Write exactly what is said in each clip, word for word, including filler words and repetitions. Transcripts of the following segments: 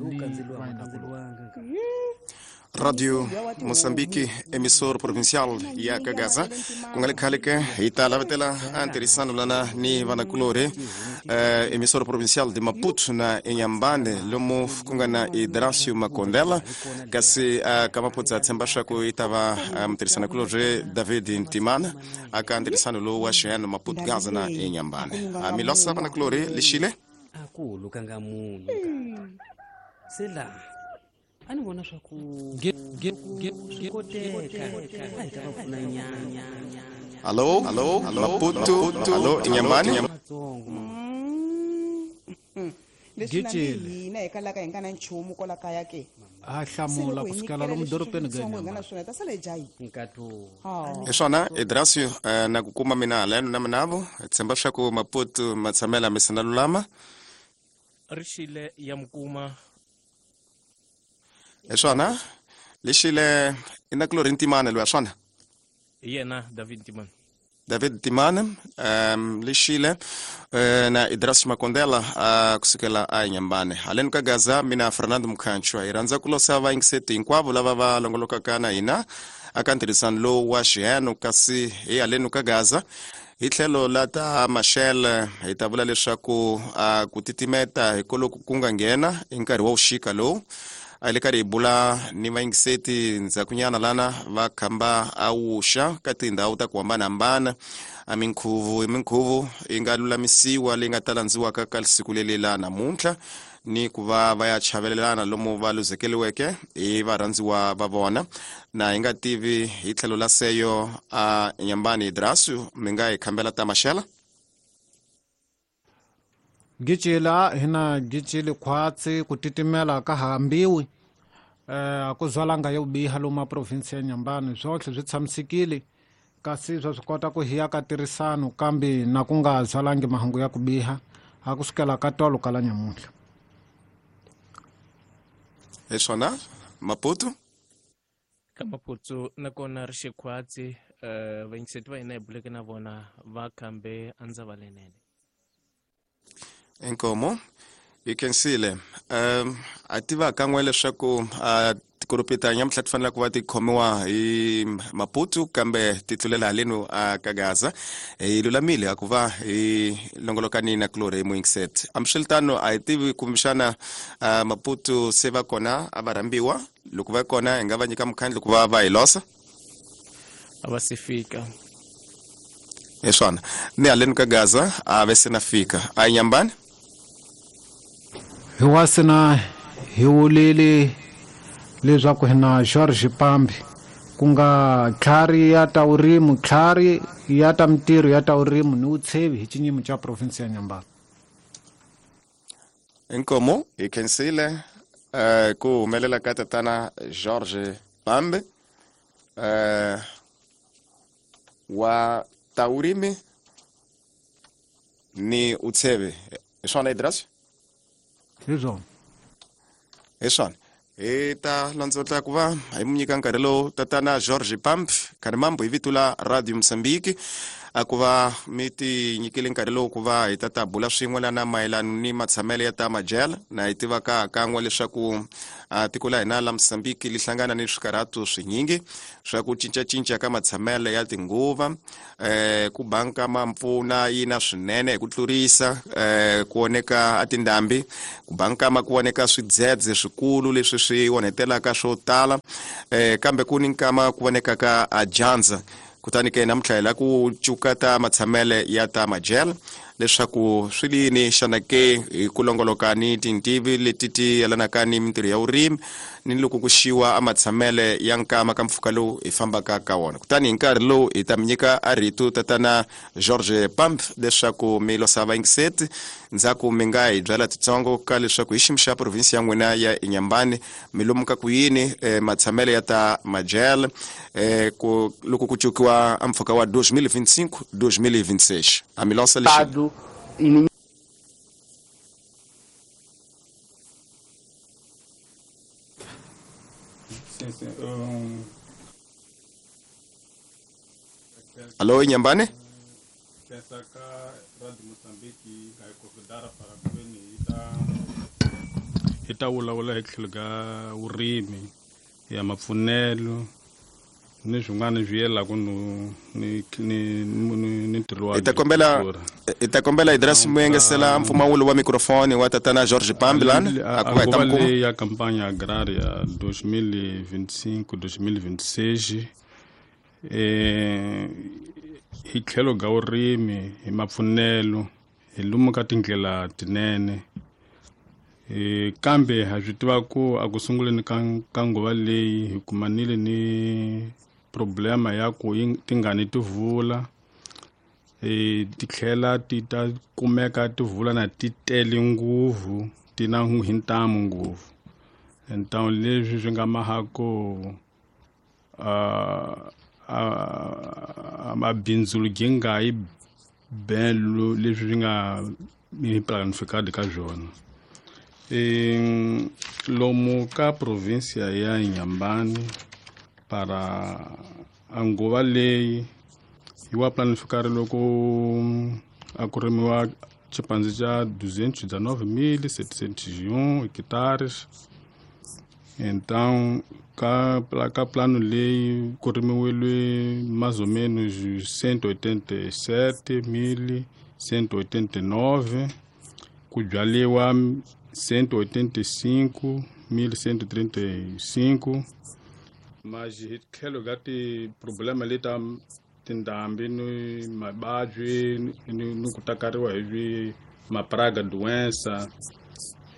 Ni vainakulorhi. Radio Moçambique, emissor provincial ya Kagaza, ku nga le khale ke hi ta lavetela a ntirhisano lana ni vanakulorhi, eh, emissor provincial de Maputo na Inhambane, lomu ku nga na Idracio Makondela, kasi uh, ka Maputo a tshemba swa ku yi ta va uh, mutirhisanakulorhi David Ntimana aka ntirhisano lowu wa xiyano Maputo Gaza na Inhambane. A mi losa vanakulorhi lexile a ku lukanga munhu se laha a ni vona swa ku swi koteka a hi ta va pfuna nyana. Allo, allo, Maputo, allo, Inhambane. Matsongo leswi na hina hi kalaka hi nga na nchumu kwala kaya ke a hlamula ku sukela lomu dorobeni ga hi nga na swona ta sala hi dya nkato. Hi swona Idracio, uh, na ku kuma mina haleno na minavo hi tshemba swa ku Maputo ma tshamela mi sina lulama rixile ya mukuma. Hi swona lexile i nakulorhi Ntimana loyi a swona hi yena David Ntimana. David Ntimana, um, lexile uh, na Idracio Makondela uh, kusukela a Inhambane. Haleni ka Gaza mina Fernando Mukhanchwa hi rhandza ku losa vayingiseti hinkwavo lava va longolokaka na hina aka ntirhisano lowu wa xiheno, kasi hi haleni ka Gaza hi tlhelo la ta Machel hi ta vula leswaku uh, ku titimeta hi koloku ku nga nghena hi nkarhi wa vuxika lowu a hi le karhi hi bula ni vayingiseti ndzhakunyana lana va khamba a wuxa ka tindhawu ta ku hambanahambana a minkhuvo hi minkhuvo yi nga lulamisiwa leyi nga ta landziwaka ka siku leli la namuntlha ni ku va va ya chavelelana lomu va luzekeliweke hi varhandziwa va vona. Na hi nga tivi hi tlhelo la seyo a Inhambane Idracio mi nga hi khambela ta Maxela. Gicila hina gicili khwatsi ku titimela ka hambiwi eh a ku zwalanga yo biha lomu province ya Inhambane swotlhe swi tshamisekile kasi swa swi kota ku hiya ka tirhisano kambe na ku nga zwalangi mahungu ya ku biha a ku sukela ka tolo ka la nyamuntlha. Hi swona Maputo ka Maputo nakona ri xikhwatsi uh, vayingiseti va hina hi buleke na vona va khambe a ndza va lenene. Inkomo hi khensile. Um a tiva kan'we leswaku uh, tikoropi ta nyamuntlha ti fanele ku va ti khomiwa hi Maputo kambe ti tlulela halenu a ka Gaza. Hi lulamile a ku va hi longolokani na kulorhi hi muyingiseti. Hambiswiritano a hi tivi kumbexana uh, Maputo se va kona a va rhambiwa loko va kona hi nga va nyika mukhandlu ku va va hi losa a va se fika. Hi swona ni haleni ka Gaza a ve se na fika a Inhambane. Hi wasina hi wulile leswaku hi na George Pambi ku nga tlhari ya ta vurimi, tlhari ya ta mintirho ya ta vurimi ni vutshevi hi xinyimo xa province ya Inhambane. Inkomo hi khensile uh, ku humelela ka tatana George Pambi uh, wa ta vurimi ni utsheve. Hi swona Idracio? Hi swona. Hi swona hi ta landzotla ku va hi mu nyika nkarhi lowu tatana George Pambi Kharimambo hi vito la Radio Moçambique a ku va mi ti nyikile nkarhi lowu ku va hi ta ta bula swin'we lana mayelana ni matshamelo ya ta majele na hi tiva ka kan'we leswaku a tiko la hina la Moçambique li hlangana ni swikarhato swinyingi swa ku cincacinca ka matshamelo ya tinguva, eh ku banka ma mpfuna yi na swinene hi ku tlurisa, eh ku oneka a tindhambi, ku banka ma ku oneka swidzedze swikulu leswi swi onhetelaka swo tala, eh kambe ku ni nkama ku vonekaka a dyandza. Kutani ke namuntlha hi la ku cuka ta matshamele ya ta majele leswaku swi lini xana ke hi ku longoloka ni tintivi leti ti yelanaka ni mintirho ya vurimi ni loko ku xiwa a matshamele ya nkama ka mpfhuka lowu hi fambaka ka wona. Kutani hi nkarhi lowu hi ta mi nyika a rito tatana George Pambi leswaku mi losa vayingiseti ndzhaku mi nga hi byela titsongo ka leswaku hi xiyimo xa province ya n'wina ya Inhambane mi lomuka ku yini eh, matshamele ya ta majele eh, ku loko ku cukiwa a mpfhuka wa dois mil e vinte e cinco dois mil e vinte e seis. A mi losa lexi. Alô, Inhambane? hi ta vulavula hi tlhelo ka vurimi ya mapfunelo ni swin'wana swi yelaka no ni ni ni ntirho wa hi ta kombela hi ta kombela Idris Muyengesela mpfumawulo wa microfone wa tatana George Pambilan a ku va hi ta nguva leyi ya campanha agrária dois mil e vinte e cinco dois mil e vinte e seis eh hi tlhelo ka vurimi hi mapfunelo hi lomu ka tindlela tinene eh kambe ha swi tiva ku a ku sunguleni ka ka nguva leyi hi kumanile ni problema ya ku tingani ti vula eh ti tlhela ti ta kumeka ti vula na ti tele nguvu ti na hi ntamu nguvu então leswi swi nga mahako a a mabindzu gi nga yi belo leswi swi nga ni planificado ka swona. Em lomu ka província ya Inhambane para a nguva leyi yi wa planificar loko a ku rimiwa xipandzi xa duzentos e dezenove mil setecentos e um hectares. Então ka ka plano leyi ku rimiwile mais ou menos cento e oitenta e sete mil cento e oitenta e nove, ku byaliwa cento e oitenta e cinco mil cento e trinta e cinco. Mas hi tlhelo ka ti-problema leti ta tindhambi ni mavabyi ni ni ku takariwa hi swi mapraga doença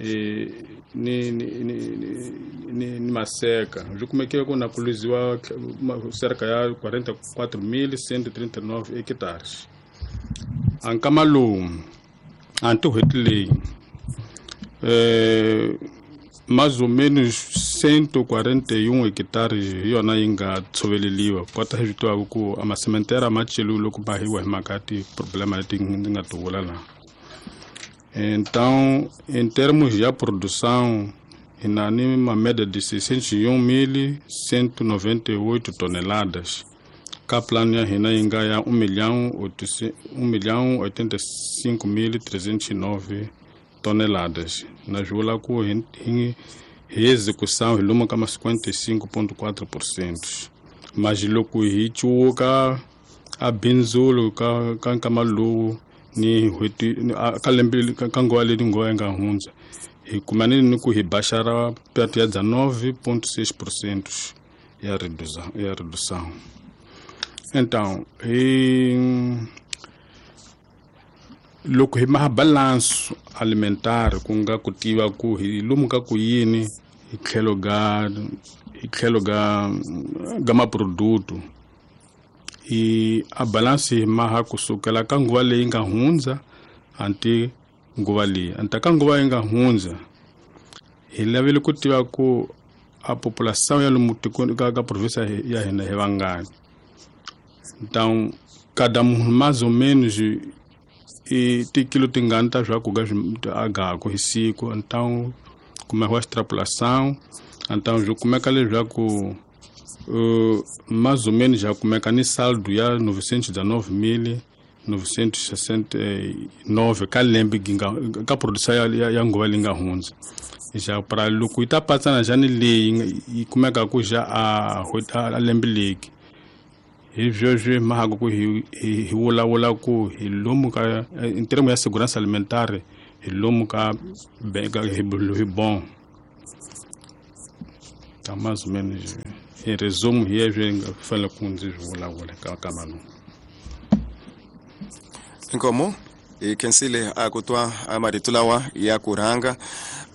eh ni ni ni ni ni maseka swi kumekile ku na ku luziwa cerca ya quarenta e quatro mil cento e trinta e nove hectares. A nkama lowu a n'hweti leyi eh mais ou menos cento e quarenta e um hectares hi yona yi nga tshoveleliwa kota hi swi tivaka ku a masementera ma celiwe loko ba hiwa hi mhaka ya ti-problema leti ndzi nga ti vula laha. Então, em termos de produção, hi na ni uma média de seiscentos e um mil cento e noventa e oito toneladas. Ka plano ya hina yi nga ya um milhão um milhão oitenta e cinco mil trezentos e nove toneladas. Na swi vula ku hi hi hi execução hi lomu ka ma cinquenta e cinco ponto quatro por cento. Mas loko hi cuka a bindzulo ka ka nkama lowu ni n'hweti ka lembe ka nguva leyi nguva yi nga hundza hi kumanile ni ku hi baxara perto ya dezenove ponto seis por cento ya redução ya redução. Então hi loko hi maha balanço alimentar ku nga ku tiva ku hi lomu ka ku yini hi tlhelo ga hi tlhelo ga ga maproduto hi a balance hi maha kusukela ka nguva leyi nga hundza anti nguva leyi anta ka nguva yi nga hundza hi lavile ku tiva ku a população ya lomu tikweni ka ka província ya hina hi vangani. Então cada munhu mais ou menos i tikilo tingani ta swakudya swi agaku hi siku. Então kumekiwa extrapolação então swi kumeka leswaku uh, mais ou menos já kumeka ni saldo ya novecentos e dezenove mil novecentos e sessenta e nove ka lembe ginga ka produção ya, ya, ya nguva leyi nga hundza já para loko yi ta patsana já ni leyi yi kumeka ku já a a lembe leyi hi sweswi mhaka ku hi hi vulavula ku hi lomu ka in termo ya segurança alimentar hi lomu ka hi hi bom tá mais ou menos em resumo hi leswi nga fanele ku ndzi swi vulavula ka ka manu. Inkomo hi khensile a ku twa a marito lawa ya ku rhanga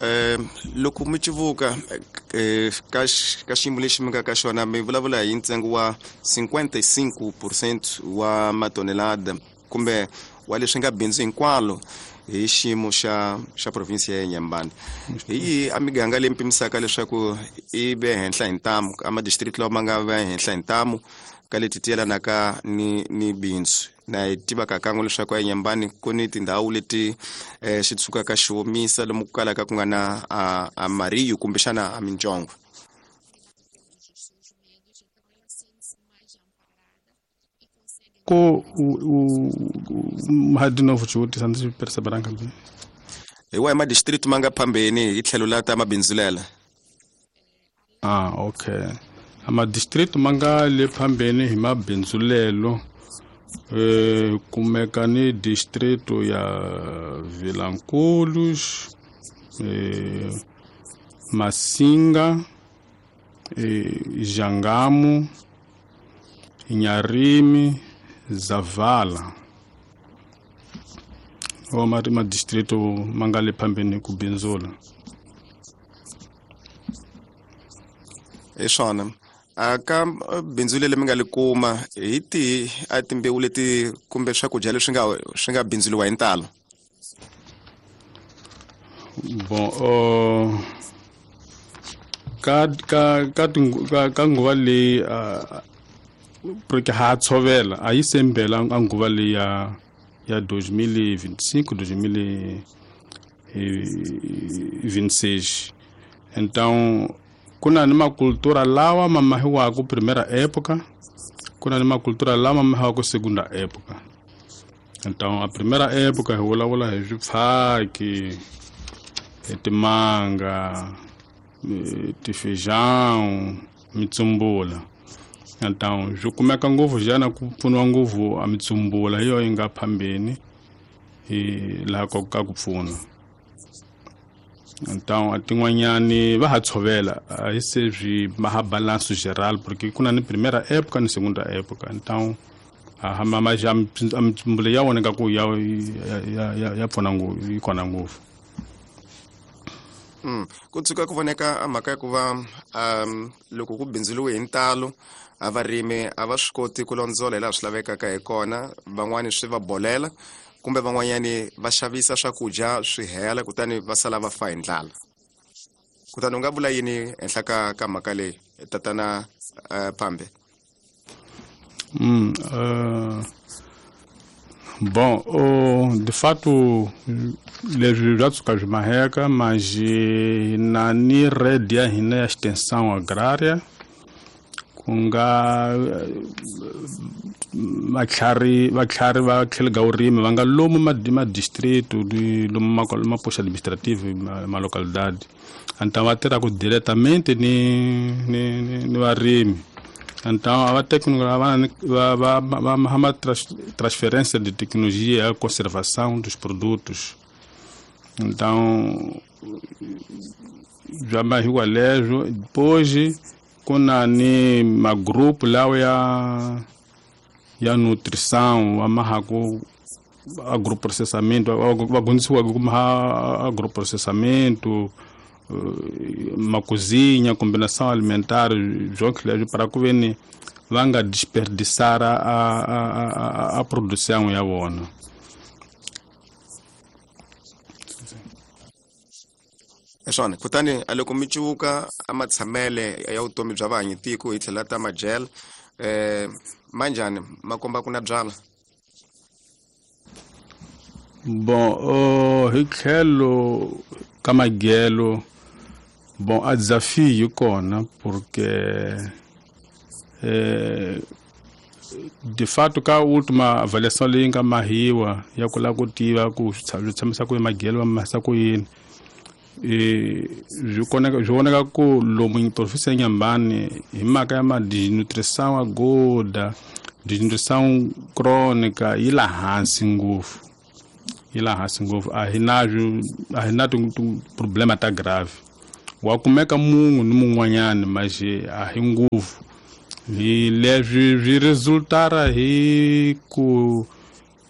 eh loko mi civuka eh ka ka xiyimo lexi mi nga ka xona mi vulavula hi ntsengo wa cinquenta e cinco por cento wa matonelada kumbe wa leswi nga bindzu hinkwalo hi xiyimo xa xa province ya Inhambane. Hi yihi a miganga leyi mi pimisaka leswaku i ve henhla hi ntamu a ma-district lawa ma nga ve henhla hi ntamu ka leti ti yelanaka ni ni bindzu? Na hi tivaka kan'we leswaku a Inhambane ku ni tindhawu leti eh, xi tsukaka xi omisa lomu ku kalaka ku nga na a, a mariyu kumbexana a mintsongo. Ko u u de novo xivutiso ndzi perceberanga bem. Hi wahi madistrict ma nga phambeni hi tlhelo la ta mabindzulela? Ah, okay. A madistrict ma nga le phambeni hi mabindzulelo eh kumeka ni distrito ya Vilanculos, eh Massinga, eh Jangamo, Inharime, Zavala. O ma distrito ma nga le phambeni ku bindzula. Hi swona. A ka bindzu leri mi nga li kuma hi tihi a timbewu leti kumbe swakudya leswi nga swi nga bindzuliwa hi ntalo? Bon, uh, ka ka ka ka, ka nguva leyi uh, porque ha tshovela a yi sembela a nguva leyi ya ya dois mil e vinte e cinco, dois mil e vinte e seis. Então ku na ni makultura lawa ma mahiwaka primeira época, ku na ni makultura lawa ma mahiwaka segunda época. Então a primeira época hi vulavula hi swipfhaki, hi timanga, tifeijão, mitsumbula. Então swi kumeka ngopfu xana ku pfuniwa ngopfu a mitsumbula hi yo yi nga phambeni hi laha ka ka ku pfuna. Então a tin'wanyani va ha tshovela a hi se swi ma ha balanço geral porque ku na ni primeira época ni segunda época. Então a ma ma ja a mitsumbula ya voneka ku ya ya ya ya pfuna ngopfu yi kona ngopfu. Mm. Ku tshuka ku voneka a mhaka ya ku va um loko ku bindzuliwe hi ntalo a varimi a va swi koti ku londzola hi laha swi lavekaka hi kona, van'wani swi va bolela kumbe van'wanyani va xavisa swakudya swi hela kutani va sala va fa hi ndlala. Kutani u nga vula yini henhla ka ka mhaka leyi tatana uh, Pambe? Mm, uh, bom, oh, de fato leswi bya tshuka swi maheka mas hi na ni rede ya hina ya extensão agrária ku nga vatlhari vatlhari va tlhelo ka vurimi va nga lomu ma madistrito lomu ma maposto administrativo ma localidade. Então va tirhaka diretamente ni ni ni varimi. Então a técnica va va va va transferência de tecnologia, a conservação dos produtos. Então já mahiwa leswo depois ku na ni magrupu lawa ya ya nutrição va mahaku agroprocessamento, va dyondzisiwaka ku maha agroprocessamento, ma cozinha, combinação alimentar, leswi para ku ve ni va nga desperdiçar a a a, a produção ya vona. Swona. Kutani a loko mi cuvuka a matshamele ya vutomi bya vahanyi tiko hi tlhela ta majele eh manjhani ma komba ku na byala? Bon, uh, hi tlhelo ka magelo bon a desafio yi kona porque eh de fato ka última avaliação leyi nga mahiwa ya ku lava ku tiva ku swi tshamisa ku magelo va mahisa ku yini, e swi koneka swi vonaka ku lomu província ya Inhambane hi mhaka ya ma desnutrição aguda, desnutrição crônica yi la hansi ngopfu, yi la hansi ngopfu. A hi na a hi na problema ta grave. Wa kumeka munhu ni mun'wanyani mas a hi ngopfu. Hi leswi swi resultara hi ku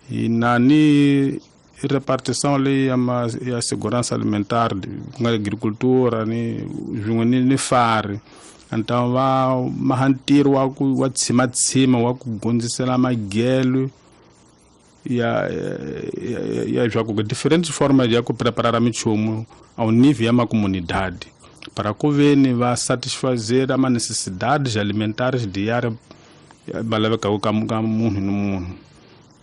hi na ni repartição leyi ya ma ya segurança alimentar ku nga agricultura ni swin'we ni ni fari. Então va maha ntirho wa ku wa tshimatsima wa ku gondzisela magelo ya ya ya swa ku diferentes formas ya ku preparar minchumu ao nível ya macomunidade para ku ve ni va satisfazer a necessidades alimentares diárias va lavekaka ka ka munhu ni munhu.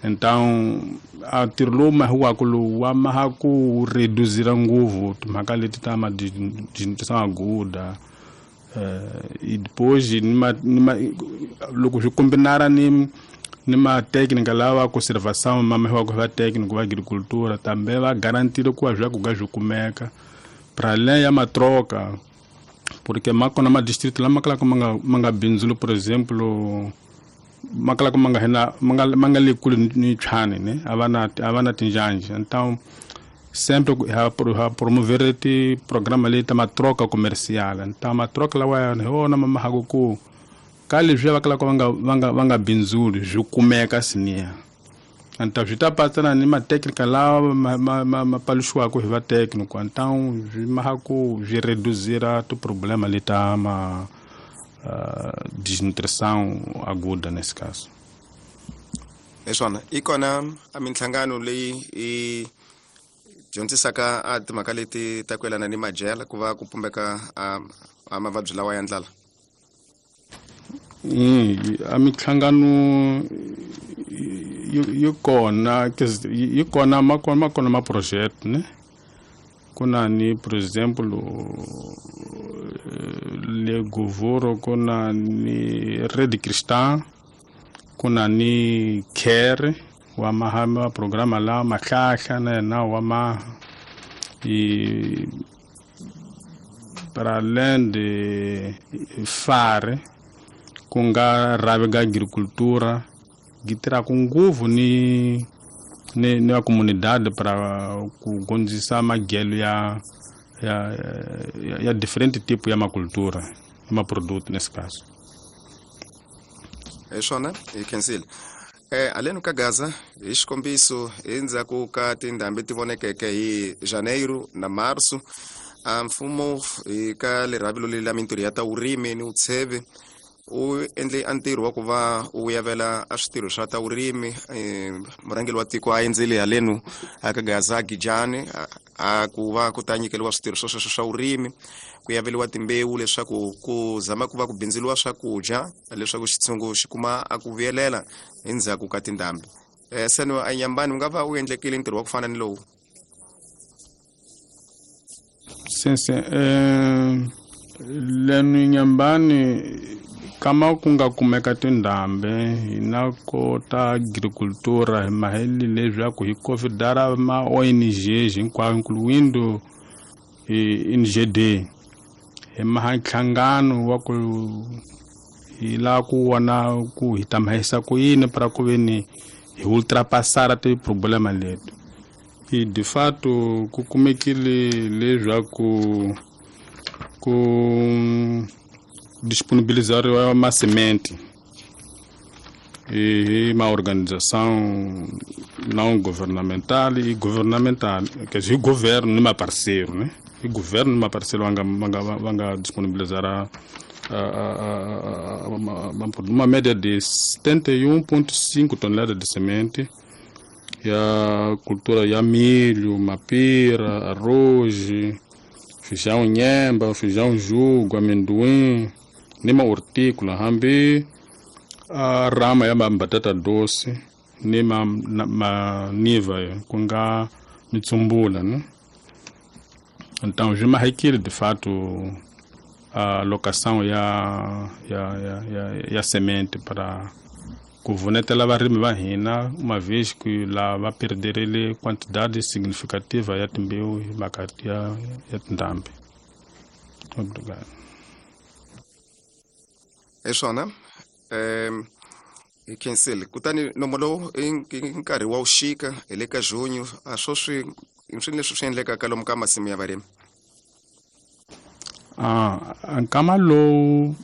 Então a ntirho lowu mahiwaka lowu wa maha ku reduzira ngopfu timhaka leti ta ma desnutrição aguda, eh e depois ni ma ni ma loko swi kombinara ni Ni ma técnica lava conservação ma ma va técnico va agricultura também va garantir ku va ku ga kumeka para além ya matroca porque makona ma distrito la makala manga manga bindzulu por exemplo makala manga hena manga manga le kule ni chane ne avana avana tinjanji. Então sempre ha ha promover ti programa le ta matroca comercial. Então matroca la wa ho na mama hagoku kali zwe vakala vanga vanga vanga bindzulu zwi kumeka sinia. Então zwi ta patsana ni ma técnica la ma ma ma paluxiwaka hi va técnico. Então zwi mahaku zwi reduzira tu problema le ta ma uh, desnutrição aguda nesse caso. Leswana i kona a minhlangano leyi i dyondzisaka a timhaka leti ta ku yelana ni madyela ku va ku pumbeka a a mavabyi lawa ya ndlala. Mm, a minhlangano yi kona yi kona ma kona ma kona ma project ne kuna ni por exemplo le Govoro kuna ni Rede Cristã kuna ni Care wa mahama programa la mahlahla na na wa ma e para além de fare ku nga rhavi ga agricultura gi tirhaka ngopfu ni ni ni va comunidade para ku gondzisa madyelo ya ya ya, ya different tipo ya macultura ya maproduto nesse caso. Hi swona hi khensile. Eh aleno ka Gaza hi xikombiso endzhaku ka tindhambi ti vonekeke hi Janeiro na Marso a mfumo hi ka lerhavilo leri la mintirho ya ta vurimi ni vutsheve u endle a ntirho wa ku va u yavela a switirho swa ta vurimi. Murhangeri wa tiko a endzele haleno a ka Gaza Gijani a ku va ku ta nyikeriwa switirho swo sweswo swa vurimi ku yaveliwa timbewu leswaku ku zama ku va ku bindzuriwa swakudya leswaku xitshungu xi kuma a ku vuyelela endzhaku ka tindhambi. Eh seno a Nyambani u nga va u endlekile ntirho wa ku fana ni lowu? Sense eh leno Nyambani kama ku nga kumeka tindhambi hi na kota agricultura hi maheli leswaku hi convidar ma O N Gs hinkwayo incluindo N G D hi maha nhlangano wa ku hi lava ku vona ku hi ta mahisa ku yini para ku veni hi ultrapassar ti problema leti. E de fato ku kumekile leswaku ku disponibilizar uma semente e uma organização não governamental e governamental, quer dizer, o governo não é parceiro, né? O governo não é parceiro, vanga vanga vanga disponibilizar a, a, a, a, uma, uma média de setenta e um vírgula cinco toneladas de semente e a cultura ya milho, mapira, arroz, feijão nhemba, feijão jugo, amendoim, nima hortícola, hambi a rama ya batata doce, nima ma niva ku nga mitsumbula, né? Então, je me de fato a locação ya ya ya ya, ya semente para ku vunetela varimi va hina uma vez que la va perderile quantidade significativa ya timbewu hi mhaka ya ya tindhambi. Obrigado. Hi swona um hi khensile. Kutani nomo lowu i nkarhi wa vuxika hi le ka junho a swo swi swi leswi swi endlekaka lomu ka masimu ya varimi. Ah, nkama lowu